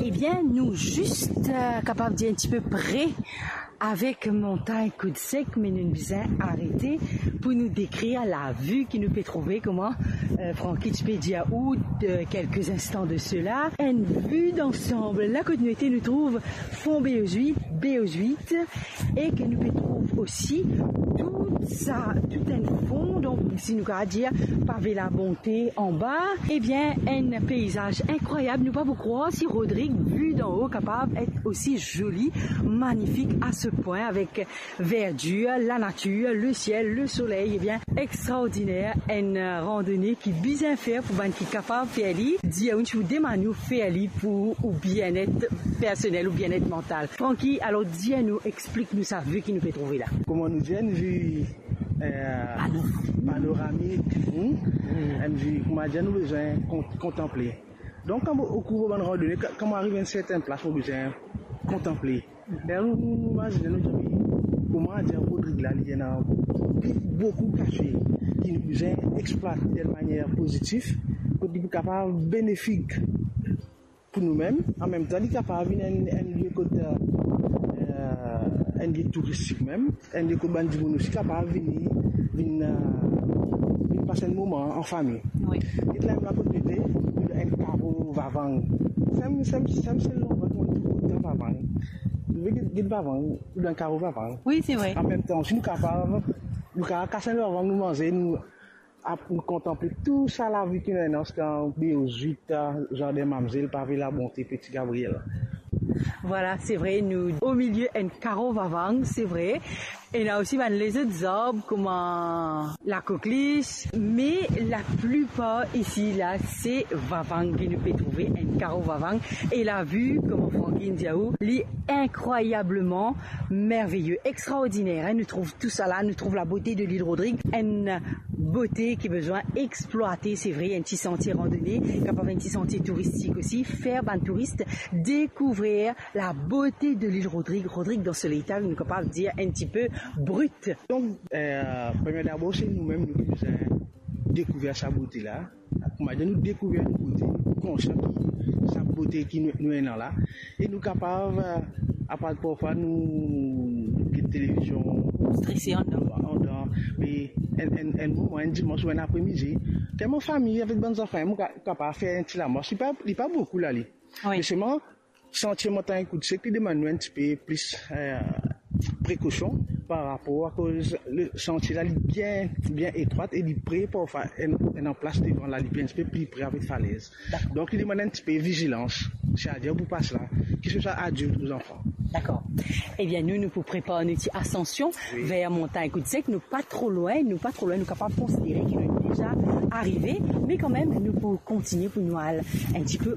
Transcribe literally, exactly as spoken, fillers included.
Ebien, nou zis, eh, kapav dir enn tipe pre avek Montagn Koud Sek, me nou bizin arete pou nou dekrir lavi ki nou pe trouve, kouma, eh, Francky ti pe dir ou, de, kelke instan de sela. Enn vi dansam, la kot nou ete, nou trouv Fon B O Z uit, B O Z uit, e ke nou pe trouv osi tou sa, tou enn fon, donk, si nou kapav dir, Pave Labonte anba, ebien, enn peizaz inkrwayab. Nou pa pou krwar si Rodrig, vi dan-o, kapav et osi zoli, manifik a se pwin, avek verdir, lanatir, lesiel, lesoley, ebien, extraordiner, enn randone ki bizin fer pou bann ki kapav fer li. Dir ou, nou demann ou fer li pou ou bienet personel, ou bienet mantal. Francky, alor, dir nou, explik nou sa vi ki nou pe trouve la. Kouma nou dir, enn vi, eh, panoramik, hmm? Hmm. Enn vi, kouma dir, nou bizin kon-, kontanple. Donk, kan ou, ou kour bann randone, ka-, kan ou ariv enn sertin plas, ou bizin kontanple. E nou, nou, nou imazine, nou dir, kouma dir, Rodrig la, li ena boukou kase ki nou bizin explwate de manier pozitif, kot li pou kapav benefik pou noumem, anmemtan li kapav vinn enn, enn lie kot, eh, enn lie touristik mem, enn lie kot bann dimoun osi kapav vini, vinn, eh, vinn pas enn moman an fami. Wi. Get la, la kot nou ete, enn karo Vavang. Sem, sem, sem, se landrwa ki nou trouv otan Vavang. Nou get, get Vavang, dan karo Vavang. Wi, se vre. Anmemtan osi, nou kapav, nou kapav kas enn Vavang, nou manze, nou ap, nou kontanple tou sa lavi ki nou ena, dan B O Z uit, Zardin Mamzel, Pave Labonte, Peti Gabriel. Vwala, se vre, nou omilie enn karo Vavang, se vre. Ena osi bann lezot zarb, kouma lakoklis, me laplipar isi la, se Vavang ki nou pe trouve, enn karo Vavang. E lavi, kouma Francky inn dir ou, li inkrwayableman merveye, extraordiner, hein. Nou trouv tou sa la, nou trouv labote de lil Rodrig, enn bote ki bizin explwate, se vre, enn ti santie randone, kapav enn ti santie touristik osi, fer bann touris dekouvrir labote de lil Rodrig. Rodrig dan so leta, nou kapav dir enn tipe brit. Donk, eh, premie dabor, se noumem, nou ki bizin dekouvrir sa bote la. Kouma dir, nou dekouvrir nou bote, nou konsian ki sa bote ki nou, nou ena la. E nou kapav, eh, apar parfwa nou, nou get televizion, strese andan. Andan, me enn, enn, enn moman, enn dimans ou enn apremidi, kan mo fami avek bann zanfan, mo ka-, kapav fer enn ti lamars. Li pa, li pa boukou la, li. Wi. Me selman, santie Montagn Koud Sek, li demann nou enn tipe plis, eh, prekosion par rapor akoz le santie la, li bien, bien etrwat e li pre parfwa enn, enn anplas devan la, li pe enn tipe pli pre avek falez. Dakor. Donk, li demann enn tipe vizilans, setadir pou pas la, ki se swa adilt ou zanfan. Dakor. Ebien, nou, nou pou prepar nou ti asansion, wi, ver Montagn Koud Sek, nou pa tro lwin, nou pa tro lwin, nou kapav konsidere ki nou deza arive, me kanmem, nou pou kontinie pou nou al enn tipe